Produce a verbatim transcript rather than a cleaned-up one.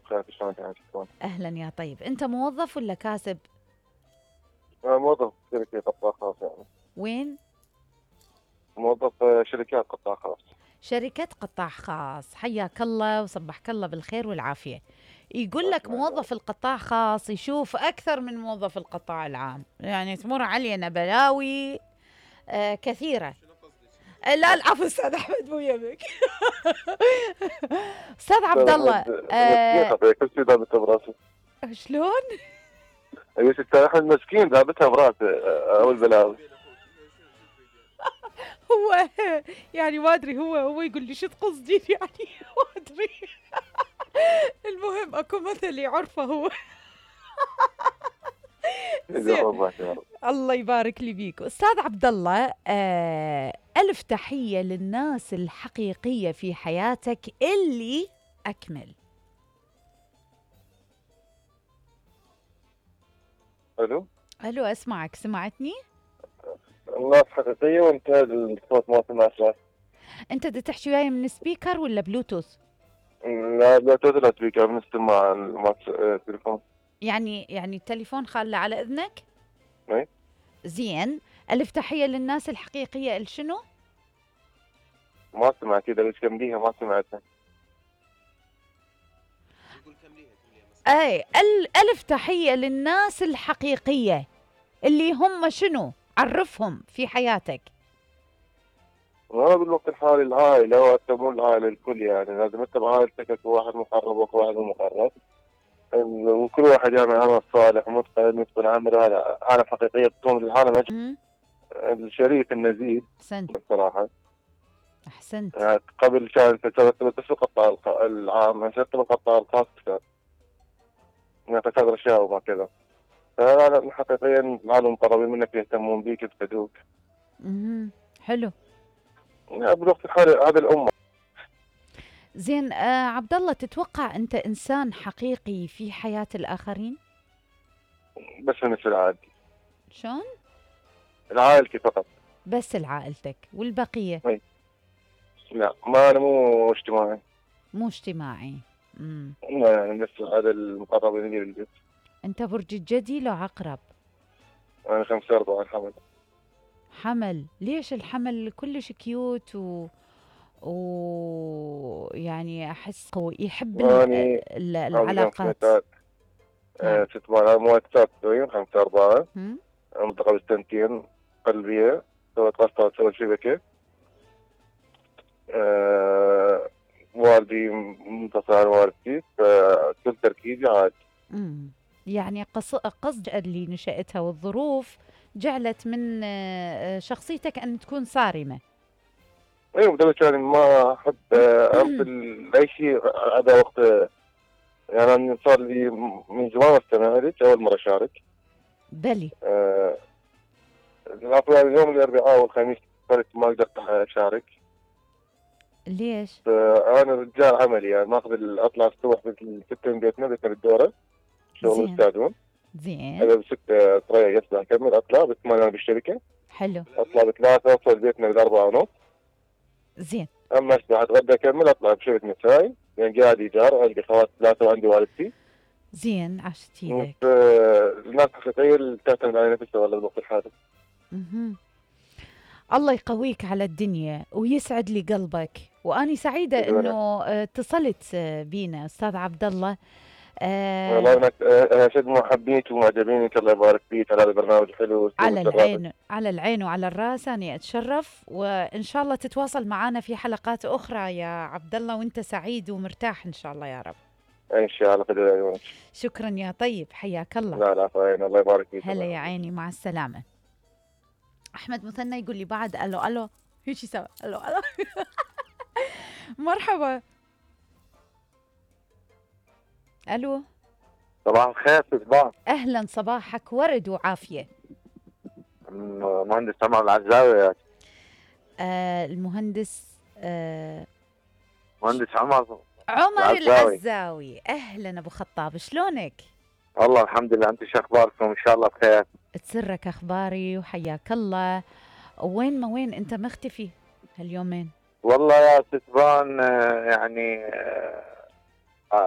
بخير، شلونك انت تكون؟ اهلا يا طيب، انت موظف ولا كاسب؟ أنا موظف شركة قطاع خاص يعني. وين؟ موظف آه، شركات قطاع خاص. شركة قطاع خاص، حياك الله وصبحك الله بالخير والعافية. يقول لك أسمع موظف القطاع خاص يشوف أكثر من موظف القطاع العام، يعني تمر علينا بلاوي آه كثيرة. آه لا العفو أستاذ أحمد مو يمك. أستاذ عبد الله. أحمد مسكين آه خطير، كل شيء ذابتها براسه. شلون؟ ايش أستاذ أحمد مسكين ذابتها براسه آه، أول بلاوي. هو يعني ما أدري، هو هو يقول لي شو تقصدين يعني ما أدري. المهم أكو مثل يعرفه هو. زين، الله يبارك لي بيك أستاذ عبد الله. آه ألف تحية للناس الحقيقية في حياتك اللي أكمل. الو ألو أسمعك، سمعتني؟ الناس حقيقية وانت الصوت ما سمعت له. أنت بدك تحكي وياي من سبيكر ولا بلوتوث؟ لا لا لا سبيكر من السماعة التليفون. يعني يعني التليفون خاله على إذنك؟ اي زين. ألف تحية للناس الحقيقية شنو؟ ما سمعت، اذا بس كمليها ما سمعتها. أي ال- ألف تحية للناس الحقيقية اللي هم شنو؟ عرفهم في حياتك. وانا بالوقت الحالي العائلة، وحتى مو العائلة الكل، يعني لازم انت بعائلتك اكو واحد مقرب واكو واحد مو مقرب، وكل واحد يعمل عمل صالح ومتقن ويتقن عمله. هذا عالم حقيقية بتكون العالم مم. الشريف النزيه أحسنت بصراحة. أحسنت. يعني قبل كان ترتبط في القطاع الخ- العام، هسه القطاع الخاص كان يعني تكاثر اشياء وما كذا. فهذا حقيقيا العالم مقربين منك يهتمون بيك يفقدوك. مهم. حلو. يعني بالوقت الحالي هذه الأمة. زين. آه عبد الله، تتوقع أنت إنسان حقيقي في حياة الآخرين؟ بس مثل عادي شلون؟ العائلتي فقط. بس لعائلتك والبقية؟ أي. لا ما أنا مو اجتماعي. مو اجتماعي. مم. لا يعني بس هذا المقربين لي بالبيت. أنت برج الجدي لو عقرب؟ أنا خمسة أربعة الحمد. حمل. ليش الحمل كلش كيوت و ويعني أحس قوي، يحب ال... أني ال... عندنا العلاقات. سنتات نعم. ست مرات مو تسعة وتسعين خمسة أربعة. هم؟ منطقة بالسنتين قلبية، سويت قسطة سويت شبكة. أه والدي منتصر عن والدتي، فكل تركيزي عاد. امم يعني قص... قصد اللي نشأتها والظروف جعلت من آه، شخصيتك أن تكون صارمة. ايوه بدل يعني ما احب آه، ارسل اي شيء هذا وقت. يعني انا صار لي من زمان استمعت اول مره اشارك. بلي. أه يعني اليوم الاربعاء والخميس صرت ما قدرت اشارك. ليش؟ انا رجال عملي، يعني ماخذ ال- اطلع الصبح بالستة من بيتنا، بيتنا بالدوره شغل زين مستعدون. زين. انا بستة تريح يصبح اكمل اطلع بثمانية انا بالشركه. حلو. اطلع بثلاثة اوصل بيتنا بالاربعة ونص. زين. اما اصبح اتغدى اكمل اطلع بشركه مساي، يعني قاعد ايجار عندي خوات ثلاثه وعندي والدتي. زين عشتي لك. الناس الحقيقيه اللي تعتمد على نفسها والله بالوقت الحالي. مهم. الله يقويك على الدنيا ويسعد لي قلبك، وأني سعيدة شكراً. أنه آه، اتصلت آه، بينا أستاذ عبد الله. والله آه انك آه، شد ما حبيت ومعجبينك، الله يبارك فيك على هذا البرنامج الحلو. على العين على العين وعلى الراس، أنا أتشرف، وإن شاء الله تتواصل معنا في حلقات أخرى يا عبد الله، وأنت سعيد ومرتاح إن شاء الله يا رب. ان شاء الله قدر عيونك. شكرا يا طيب، حياك الله. لا لا فاين، الله يبارك فيك. هلا يا عيني، مع السلامة. أحمد مثنى يقول لي بعد ألو ألو هيك سوا ألو ألو. مرحبا. ألو. صباح الخير صباح. أهلا، صباحك ورد وعافية. مهندس عمر العزاوي. آه المهندس آه مهندس عمر عمر العزاوي. العزاوي. أهلا أبو خطاب، شلونك؟ والله الحمد لله، أنت شو أخباركم؟ إن شاء الله بخير. تسرك أخباري وحياك الله. وين ما وين أنت مختفي هاليومين؟ والله يا ستبان يعني